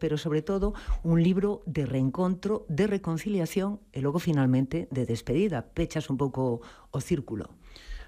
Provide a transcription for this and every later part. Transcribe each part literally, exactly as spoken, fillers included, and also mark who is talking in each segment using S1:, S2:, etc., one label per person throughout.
S1: pero sobre todo un libro de reencontro, de reconciliación e logo finalmente de despedida. Pechas un pouco o círculo.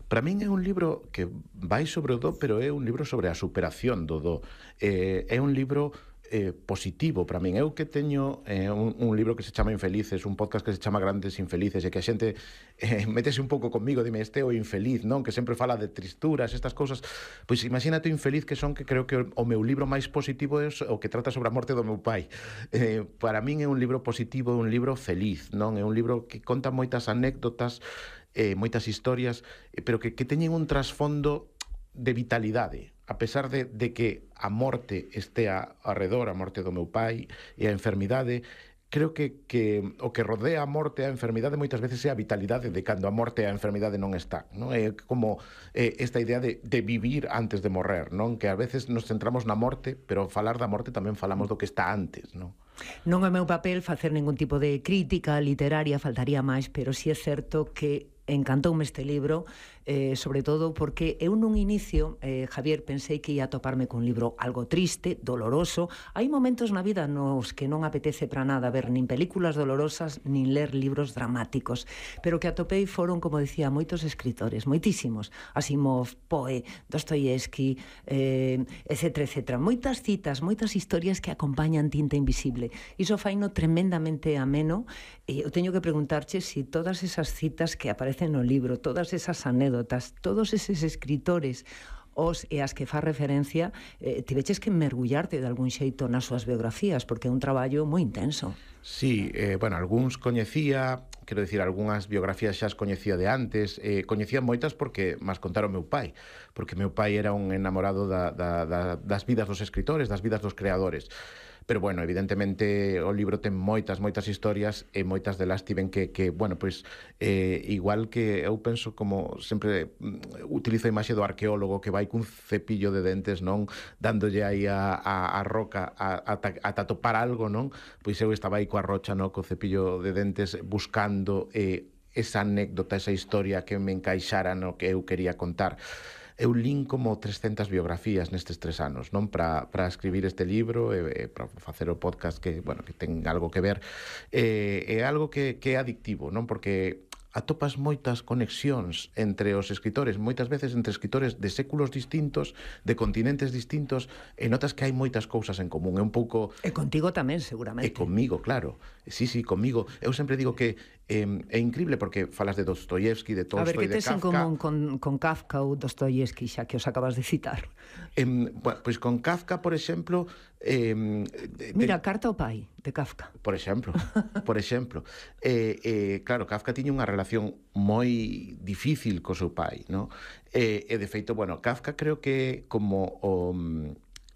S2: Para min é un libro que vai sobre o do, pero é un libro sobre a superación do do. Eh, é un libro eh, positivo para min. Eu que teño eh, un, un libro que se chama Infelices, un podcast que se chama Grandes Infelices, e que a xente eh, metese un pouco conmigo, dime, este é o infeliz, non? Que sempre fala de tristuras, estas cousas. Pois imagínate o infeliz que son, que creo que o meu libro máis positivo é o que trata sobre a morte do meu pai. Eh, para min é un libro positivo, un libro feliz, non? É un libro que conta moitas anécdotas, eh, moitas historias, eh, pero que, que teñen un trasfondo de vitalidade, a pesar de, de que a morte estea arredor, a morte do meu pai e a enfermidade. Creo que, que o que rodea a morte e a enfermidade moitas veces é a vitalidade de cando a morte e a enfermidade non está, non? É como eh, esta idea de, de vivir antes de morrer, non? Que a veces nos centramos na morte, pero falar da morte tamén falamos do que está antes, non?
S1: Non é meu papel facer ningún tipo de crítica literaria, faltaría máis, pero si é certo que encantoume este libro, eh, sobre todo porque eu nun inicio, eh, Javier, pensei que ia toparme cun libro algo triste, doloroso. Hai momentos na vida nos que non apetece para nada ver nin películas dolorosas, nin ler libros dramáticos, pero que atopei foron, como dicía, moitos escritores, moitísimos, Asimov, Poe, Dostoievski, eh, etcétera, etcétera. Moitas citas, moitas historias que acompañan Tinta Invisible. Iso faino tremendamente ameno, e eu teño que preguntarche se si todas esas citas que aparecen no libro, todas esas anécdotas, todos eses escritores os e as que fa referencia, eh, tiveches que mergullarte de algún xeito nas súas biografías, porque é un traballo moi intenso.
S2: Sí, eh, bueno, algúns coñecía, quero dicir, algunhas biografías xa as coñecía de antes, eh, coñecía moitas porque mas contaron meu pai, porque meu pai era un enamorado da, da, da, das vidas dos escritores, das vidas dos creadores. Pero, bueno, evidentemente o libro ten moitas, moitas historias e moitas delas tiven que, que bueno, pois, eh, igual que eu penso, como sempre mm, utilizo a imaxe do arqueólogo que vai cun cepillo de dentes, non? Dándolle aí a, a, a roca a, a, a topar algo, non? Pois eu estaba aí coa rocha, non? Co cepillo de dentes buscando eh, esa anécdota, esa historia que me encaixara no que eu quería contar. Eu lín como trescentas biografías nestes tres anos, non? Para para escribir este libro e, e para facer o podcast que, bueno, que ten algo que ver. É, é algo que, que é adictivo, non? Porque atopas moitas conexións entre os escritores, moitas veces entre escritores de séculos distintos, de continentes distintos, e notas que hai moitas cousas en común. É un pouco...
S1: E contigo tamén, seguramente.
S2: E comigo, claro. Sí, sí, comigo. Eu sempre digo que eh, é increíble porque falas de Dostoievski, de Tolstoi, de Kafka...
S1: A ver, que tes en común con, con Kafka ou Dostoievski, xa que os acabas de citar?
S2: Eh, bueno, pois con Kafka, por exemplo... Eh,
S1: Mira, de... Carta ao pai, de Kafka.
S2: Por exemplo, por exemplo. Eh, eh, claro, Kafka tiña unha relación moi difícil co seu pai, non? E, e de feito, bueno, Kafka creo que como o...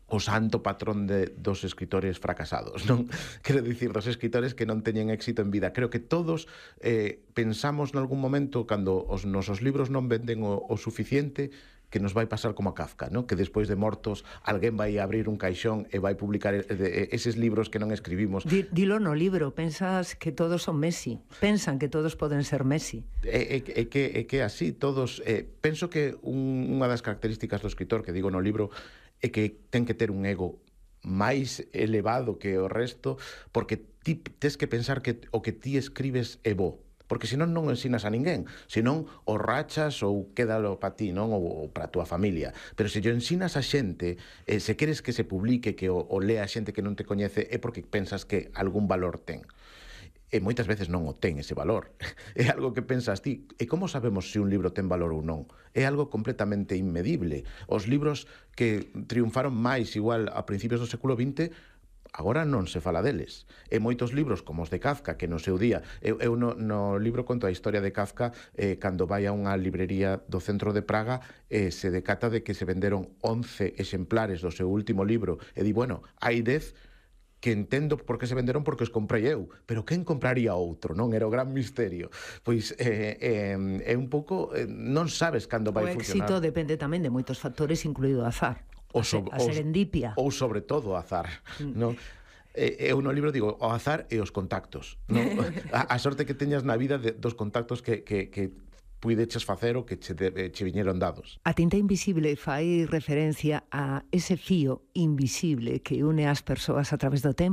S2: o santo patrón de, dos escritores fracasados, non? Quero dicir, dos escritores que non teñen éxito en vida. Creo que todos eh, pensamos nalgún momento, cando os nosos libros non venden o, o suficiente, que nos vai pasar como a Kafka, non? Que despois de mortos alguén vai abrir un caixón e vai publicar eses libros que non escribimos.
S1: Dilo no libro, pensas que todos son Messi, pensan que todos poden ser Messi.
S2: É, é, é que é que así todos, eh, penso que un, unha das características do escritor que digo no libro é que ten que ter un ego máis elevado que o resto, porque ti tes que pensar que o que ti escribes é bo, porque senón non ensinas a ninguén, senón o rachas ou quédalo para ti, non? Ou para a túa familia. Pero se yo ensinas a xente, eh, se queres que se publique, que o, o lea a xente que non te coñece, é porque pensas que algún valor ten. E moitas veces non o ten ese valor. É algo que pensas ti. E como sabemos se un libro ten valor ou non? É algo completamente inmedible. Os libros que triunfaron máis igual a principios do século vinte, agora non se fala deles. E moitos libros como os de Kafka, que no seu día... Eu, eu no, no libro conto a historia de Kafka eh, cando vai a unha librería do centro de Praga eh, se decata de que se venderon once exemplares do seu último libro. E di, bueno, hai dez que entendo por que se venderon porque os comprei eu, pero quen compraría outro, non? Era o gran misterio. Pois eh, eh, é un pouco... Eh, non sabes cando vai funcionar.
S1: O éxito depende tamén de moitos factores, incluído o azar,
S2: o so,
S1: a serendipia.
S2: Ou sobre todo o azar, mm. non? Eu no libro digo o azar e os contactos, non? a, a sorte que teñas na vida de, dos contactos que, que, que puideches facer o que che, de, che viñeron dados.
S1: A Tinta Invisible fai referencia a ese fío invisible que une as persoas a través do tempo.